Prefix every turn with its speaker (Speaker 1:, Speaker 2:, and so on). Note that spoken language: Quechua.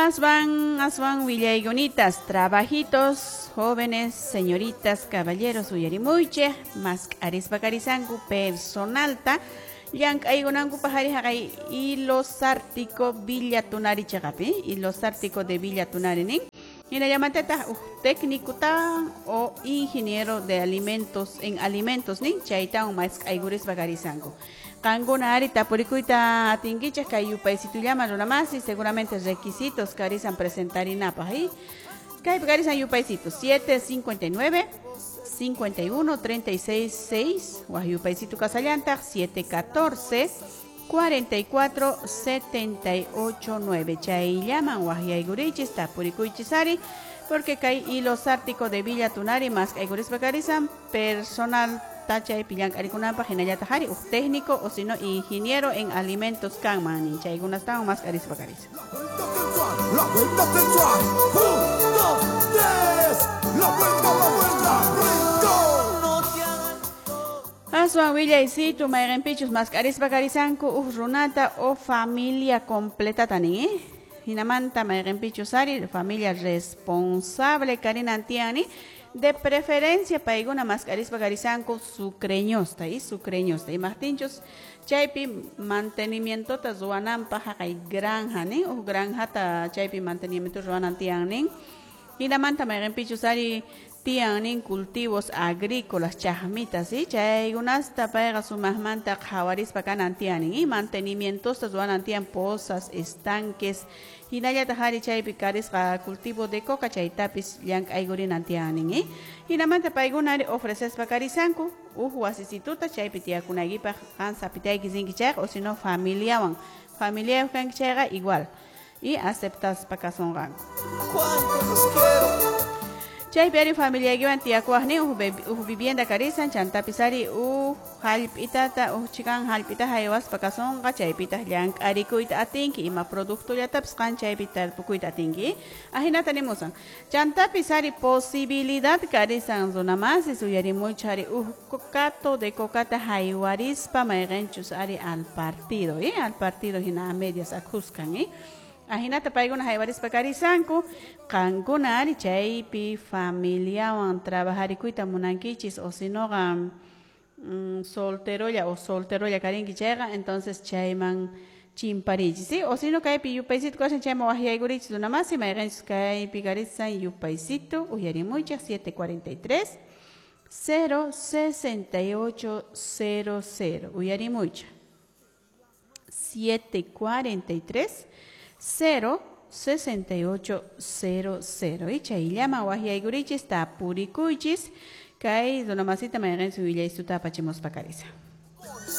Speaker 1: Aswan, aswan willaygunitas, trabajitos, jóvenes, señoritas, caballeros, uyarimuychej, mask'arispa karisanku personalta, llank'aykunanku pajari haqay Ilo Sártico Villa Tunari chaqapi, Ilo Sártico de Villa Tunari nin. Hinallamantataq uj técnico tan o ingeniero de alimentos en alimentos nin, chaytawan mask'aykurispa karisanku. Qankuna ari tapurikuyta atinkichej kay yupaysitullama runamasi, seguramente requisitos karisan presentarinapaj, ¿eh? Kaypi karisan yupaysito 759 51 36 6, waj yupaysito kasallantaq 714 44 78 9. Chayllaman wajyaykurichis tapurikuychis ari, porque kay Hilo Sártico de Villa Tunari mask'aykurispa karisan personal chaypi llank'arikunanpaq hinallataq ari uj técnico o sino ingeniero en alimentos kanman nin, chaykunastawan mask'arispa karisan.
Speaker 2: La vuelta sensual, 1, 2, 3, la vuelta, rinco.
Speaker 1: Aswan willaysitu mayqinpichus mask'arispa karisanku uj runata o familia completata nin, ¿eh? Hinamanta mayqinpichus ari familia responsable karinan tiyan nin, de preferencia paykuna mask'arispa karisanku sucreñosta y sucreñosta imaqtinchus chaypi mantenimientota ruwananpaq haqay granja nin, uj granjata chaypi mantenimiento ruwanan tiyan nin. Hinamanta mayqinpichus ari tiyan nin cultivos agrícolas chaqmitas, ¿sí? Chaykunasta payqa sumaqmanta qhawarispa kanan tiyan nin, y mantenimientosta ruwanan tiyan pozas, estanques, hinallataq ari chaypi karisqa cultivo de coca chaytapis llank'aykurinan tiyan nin, ¿eh? Hinamanta paykuna ari ofrecespa karisanku uj wasisituta chaypi tiyakunaykipaq qan sapitayki rinki chayqa o sino familiawan, familiayuq kanki chayqa igual y aceptaspa kasunqanku.
Speaker 2: Cuánto los quiero.
Speaker 1: Chaypi ari familiaykiwan tiyakuwaq nin uj vivienda karisan chantapis ari uj hallp'itata uj chikan hallp'ita haywaspa kasunqa chaypitaq llank'arikuyta atinki ima productollatapis qan chaypi tarpukuyta atinki, ajinata nimusan. Chantapis ari posibilidad karisan runamasis uyarimuychik ari uj cocato de cocata haywarispa mayqinchus ari al partido, ¿eh? Al partido hina a medias akuskan, ¿eh? Ajinata paykuna haywarispa karisanku, qankuna ari chaypi familiawan trabajarikuyta munankichis o sinoqa solterolla o solterolla karinki chayqa, entonces chayman chimparichis, ¿sí? O sino kaypi yupaysito kashan chayman wajyaykurichis runamasi mayqinchis kaypi karisan yupaysito uyarimuychik 743 0 68 00 uyarimuychik 743 0 68 00 y chayllama wajyaykurichis tapurikuychis kay runamasita mayqinchis willaysuta apachimuspa karisa.